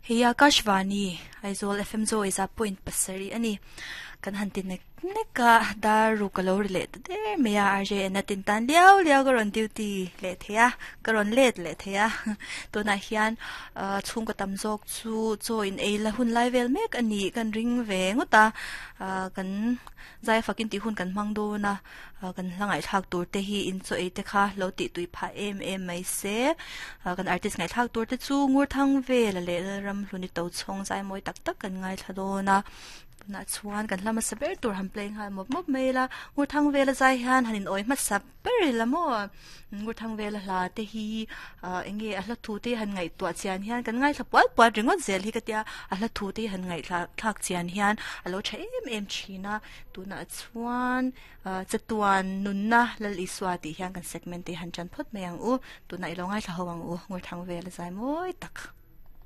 Hei Akashvani Aizawl FM Zawi za point pasarih a ni. Kan han ti nek nek a, dar ruk a lo ri leh ta der mai a, RJN a tin tan liau liau ka rawn duty leh thei a, ka rawn let leh thei a. Tunah hian ah chhungkaw tam zawk chu chaw in ei la hun lai vel mek a nih kan ring ve ngawt a, ah kan zai fakin tih hun kan hmang dawn a. Kan hla ngaihthlak tur te hi in chaw ei te kha lo tih tui phah em em mai se. Kan artist ngaihthlak tur te chu Ngurthang Vela leh Lalramhluni Tochhawng zai mawi tak tak kan ngaithla dawn a. Tunah chuan kan hla hmasa ber tur han play nghal mawp mawp mai ila. Ngurthang Vela zai hian han in awi hmasa ber ila maw? Ngurthang Vela hla te hi eng nge a hla thu te han ngaihtuah chian hian kan ngaithla pual pual ringawt zel hi ka tia. A hla thu te han ngaihthla thlak chian hian a lo tha em em thin a. Tunah chuan chatuan nunna Lal Isua tih hian kan segment te han tan phawt mai ang u. Tunah i lo ngaithla ho ang u, Ngurthang vel a zai mawi tak.